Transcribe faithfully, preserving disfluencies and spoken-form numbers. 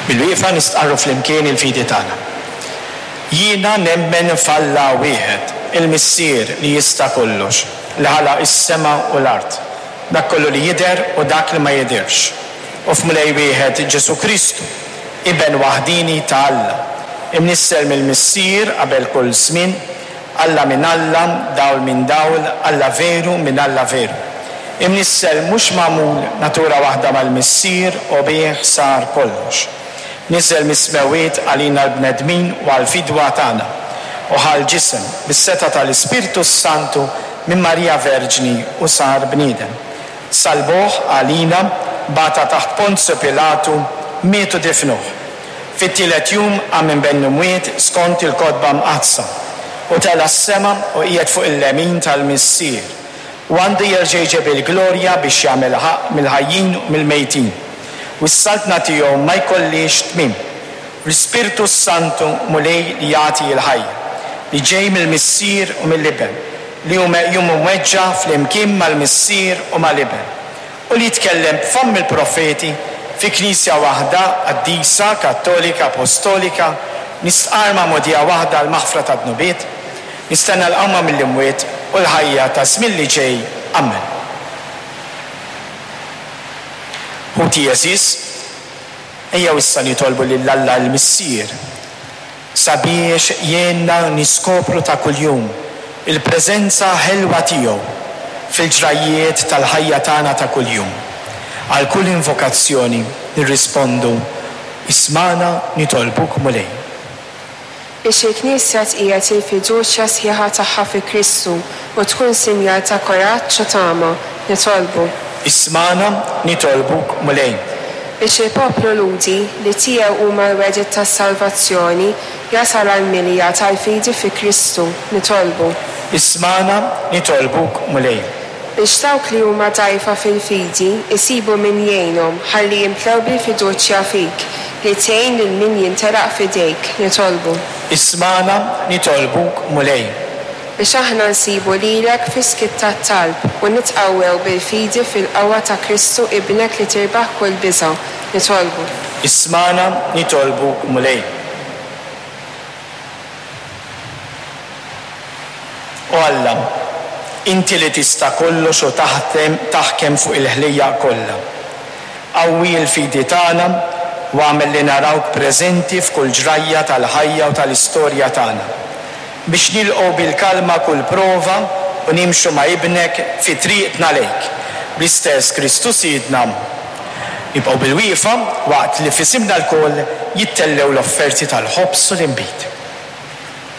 Bil-wieqfa nistqarru flimkien il-fidi tagħna. Jiena nemmen f'Alla wieħed, il-Missier li jista' kollox, li ħalaq is-sema u l-art, dak kollu li jidher u dak li ma jidhirx. U f'Mulej wieħed Ġesù Kristu, Iben waħdieni ta' Alla, imnissel mill-Missier qabel kull żmien, Alla minn Alla, dawl minn dawl, Alla veru minn Alla veru. Imnissel mhux magħmul, natura waħda mal-Missier u bih sar kollox. Niżel mis-smewwiet għalina l-bnedmin u għall-fidwa tagħna, u ħa l-ġisem bis-setgħa tal-Ispirtu s-Santu minn Marija Verġni u sar bniedem. Salbuh għalina, bata taħt Ponzju Pilatu, miet u difnuh. Fit-tielet jum qam minn bejn l-imwiet skont il-Kotba Mqaddsa, u tela' s-sema u qiegħed fuq il-lemin tal-Missier, u għandu jerġa' jġib il-glorja biex jagħmel ħaqq mill-ħajjin u mill-mejtin, u s-saltna tiegħu ma jkollhiex tmiem. L-Ispirtu s-Santu Mulej li jagħti l-ħajja, li ġej mill-Missier u mill-Iben, li hu meqjum u mweġġa' flimkien mal-Missier u mal-Iben, u li jitkellem b'fomm il-profeti fi Knisja waħda, qaddisa, kattolika, apostolika, nistqarr magħmudija waħda għall-maħfra tad-dnubiet, nistenna l-qawma mill-imwiet u l-ħajja ta' żmien li ġej. Amen. Ħuti għeżież, ejjew issa nitolbu lil Alla l-Missier sabiex jgħinna niskopru ta' kuljum il-preżenza ħelwa tiegħu fil-ġrajjiet tal-ħajja tagħna ta' kuljum. Għal kull invokazzjoni nirrispondu, Ismagħna nitolbuk Mulej. Biex il-Knisja tqiegħed il-fiduċja sħiħa tagħha fi Kristu u tkun sinjal ta' kuraġġ u tama, nitolbu. Ismagħna nitolbuk Mulej. Biex il-poplu Lhudi, li tiegħu huma l-wegħdiet tas-salvazzjoni, jasal għall-milja tal-fidi fi Kristu, nitolbu. Ismagħna nitolbuk Mulej. Biex dawk li huma dgħajfa fil-fidi jsibu min jgħinhom ħalli jimtlew bil-fiduċja fik, li tgħin lil min jintelaq f'idejk, nitolbu. Ismagħna nitolbuk Mulej. Biex aħna nsibu lilek fis-skiet tat-talb u nitqawwew bil-fidi fil-qawwa ta' Kristu Ibnek li tirbaħ kull biża', nitolbu. Ismagħna nitolbuk Mulej. O Alla, inti li tista' kollox u taħdem, taħkem fuq il-ħlejjaq kollha. Qawwi l-fidi tagħna u agħmel li narawk preżenti f'kull ġrajja tal-ħajja u tal-istorja tagħna, biex nilqgħu bil-kalma kull prova u nimxu ma' Ibnek fi triqtna lejk, bl-istess Kristu Sidna. Nibqgħu bil-wieqfa waqt li f'isimna lkoll jittellew l-offerti tal-ħobż u l-inbid.